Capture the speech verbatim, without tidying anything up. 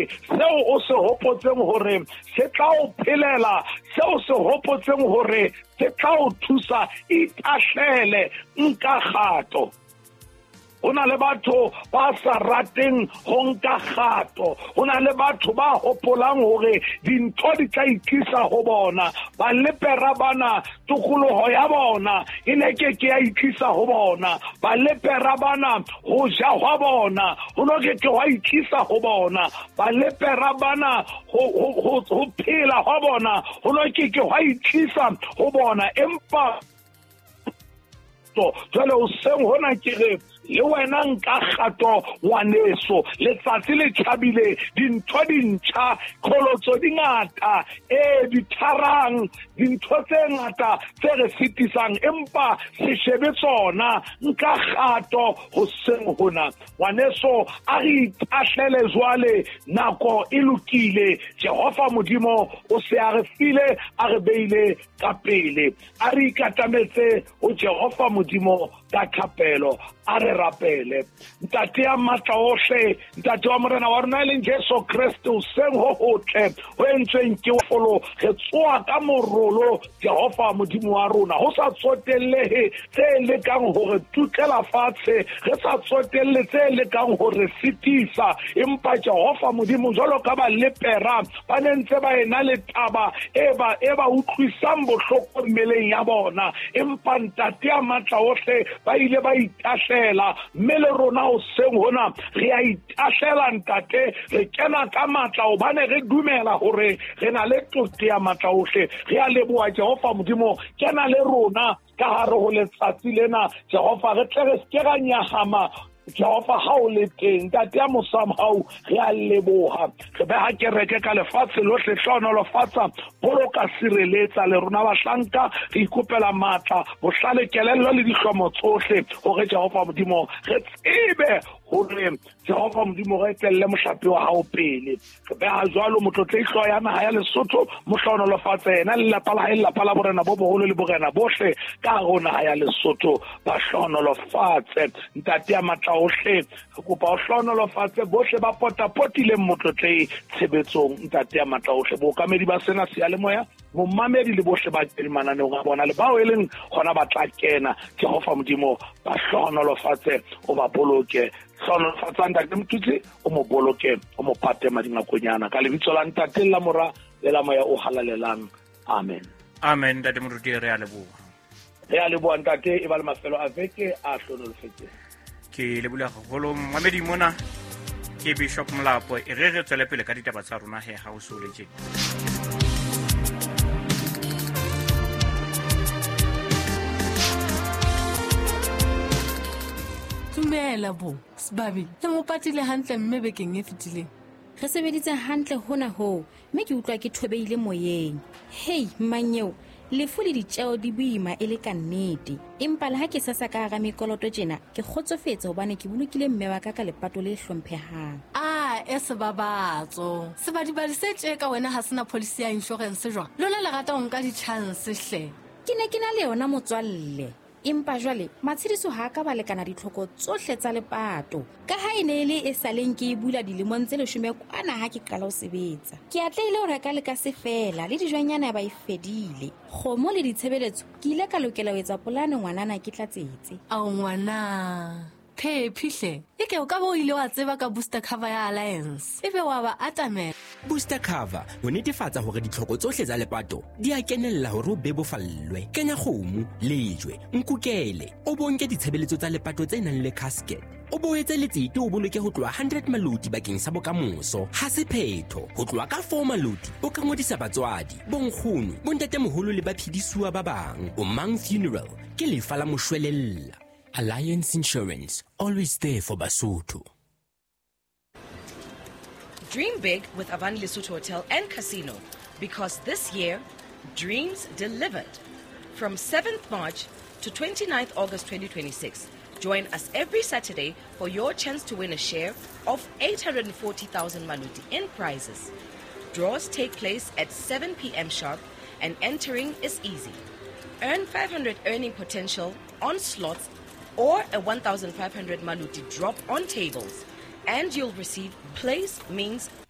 pele seo o se hopotseng hore se tla o phelela, seo se hopotseng hore se tla o thusa. Itahlele, nka kgato. Ho na le batho ba sa rateng ho nka kgato. Ho na le batho ba hopolang hore dintho di tla itlisa ho bona. Ba lepera bana tokoloho ya bona e ne ke ke ya itlisa ho bona. Ba lepera bana ho ja hwa bona ho no ke ke hwa itlisa ho bona. Ba lepera bana ho ho ho phela hwa bona ho no ke ke hwa itlisa ho bona. Empa jwale hoseng hona ke re le wena nka kgato ngwaneso. Letsatsi le tjhabile, dintho di ntjha, kgolotso di ngata, e ditharang, dintho tse ngata tse re sitisang, empa se shebe tsona. Nka kgato hoseng hona ngwaneso, a re itahlele jwale, nako e lokile. Jehova Modimo o se a re file, a re beile ka pele. A re ikatametse ho Jehova Modimo ka thapelo. A re rapele. Ntate ya matla ohle, ntate wa morena wa rona e leng Jesu Kreste, hoseng ho hotle ho entsweng ke folo, re tsoa ka morolo Jehova Modimo wa rona, ho sa tsotellehe tse lekang hore tutlela fatshe, re sa tsotelle tse lekang hore sitisa, empa Jehova Modimo jwalo ka ba lepera ba ne ntse ba ena le taba e ba e ba utlwisang bohloko mmeleng ya bona, empa ntate ya matla ohle ba ile ba itahlela. Mme le rona hoseng hona re a itahlela ntate, re kena ka matla hobane re dumela hore re na le tote ya matla ohle. Re a leboha Jehova Modimo, kena le rona ka hare ho letsatsi lena Jehova, re tle re se ke ra nyahama Jehova ha o le teng. Ntate ya mosamhau, re a leboha. Re beha kereke ka lefatshe lohle, hlohonolofatsa, boloka, sireletsa le rona bahlanka. Re ikopela matla, bohlale, kelello le dihlomo tsohle hore Jehova Modimo re tsebe hore Jehova Modimo re etelle mohlape wa hao pele. Re beha jwalo motlotlehi hlooho ya naha ya Lesotho, mo hlohonolofatse yena le lelapa la hae, lelapa la borena bo boholo le borena bohle ka hare ho naha ya Lesotho, ba hlohonolofatse. Ntate ya matla ohle, re kopa o hlohonolofatse bohle ba potapotileng motlotlehi tshebetsong. Ntate ya matla ohle, bookamedi ba sena seyalemoya, momamedi le bohle ba teng mananeong a bona le bao e leng hona ba tla kena, Jehova Modimo ba hlohonolofatse, o ba boloke. Hlohonolofatsa ntate Motutsi, o mo boloke, o mo pate madingakonyana, ka lebitso la ntate la mora le la moya o halalelang. Amen. Amen. Ntate Moruti, re a leboha. Re a leboha ntate, e ba le mafelo a veke a hlohonolofetseng. Ke leboha haholo momamedi mona ke Bishop Molapo. E re re tswele pele ka ditaba tsa rona he ha o so le tjena. Dumela bo, Sebabi, le mo patile hantle mme bekeng e fetileng. Re sebeditse hantle hona hoo, mme ke utlwa ke thobeile moyeng. Hei, mmanyeo, lefu le ditjeo di boima e le ka nnete. Empa le ha ke sasa ka hara mekoloto tjena, ke kgotsofetse hobane ke bolokile mme wa ka ka lepato le hlomphehang. Ah, e sebabatso. Sebadibadi se tje ka wena ha sena policy ya insurance jwang? Lona le rata ho nka di-chance hle. Ke ne ke na le yona motswalle. Empa jwale matshediso ha ka ba lekana ditlhoko tsohle tsa lepato. Ka ha e ne e le e saleng ke e bula dilemong tse leshome kwana ha ke qala ho sebetsa. Ke atlehile ho reka le ka se fela le dijwanyana ba e fedile. Kgomo le ditshebeletso ke ile ka lokela ho etsa polane ngwanana ke tlatsetse. Ao ngwana, phephi hle. Eke o ka bo ile wa tseba ka booster cover ya Alliance. Ebe wa ba atamela. Booster cover ho netefatsa hore ditlhoko tsohle tsa lepato di a kenella hore o bebofallwe. Kenya kgomo, lejwe, nkukele, o bonke ditshebeletso tsa lepato tse nang le casket. O boetse letsete o boloke ho tloha hundred maloti bakeng sa bokamoso. Ha se phetho, ho tloha ka four maloti o ka ngodisa batswadi, bonkgono, bontatemoholo le baphedisuwa ba bang. O Mang Funeral ke lefa la moshwelella. Alliance Insurance, always there for Basotho. Dream big with Avan Lesotho Hotel and Casino, because this year, dreams delivered. From seventh March to twenty-ninth August twenty twenty-six, join us every Saturday for your chance to win a share of eight hundred forty thousand Maluti in prizes. Draws take place at seven p.m. sharp and entering is easy. Earn five hundred earning potential on slots or a one thousand five hundred Maluti drop on tables, and you'll receive place, means,